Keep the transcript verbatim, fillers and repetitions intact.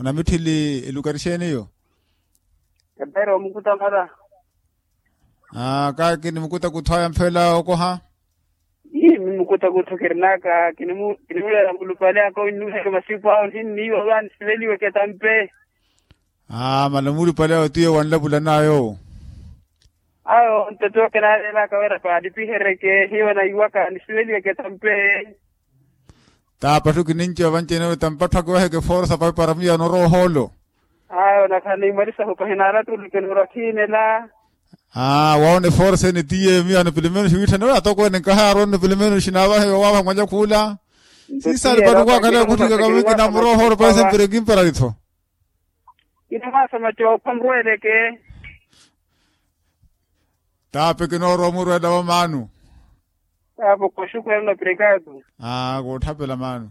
Onamitthili elukari xeeni eyo? Epeera omukuta mara. Aa kaaki nimukuta kuthwaya mphela okoha. Ii mimukuta kutthu kirinaka kinimuleela mulupale aka onnuheke masipu awo nhinniiwa va nisiveliweke tampe. Aa mala mulupale awo tiyo wanlapulan'ayo. Awo ntoto kinaaleelaka wira paalipihereke hiyo naiwaka nisiveliweke tampe. Taapatthu kininci ovancene ori tampatthu akiwaheke forsa papara miyo anorowa ohoolo. Ayo nakhala niimalisahu pahinaalatulukeni ori akhiinela. Aa waawona eforsa ene tiye miyo ano pilimeno xiwiitthane ori atokweene nkahaaronne pilimeno xinaavahe wawaava mwanya khuula. Siisaali pano kwakhale okhutthika kamwinki namurowa ohoolo paise mpira ekimperaritho. Kinamwaasa macoopha murweeleke. Taape kinoorowa omurweela wa maanu. Taape koxukwela na pirekaatu. Aa kootthapela maanu.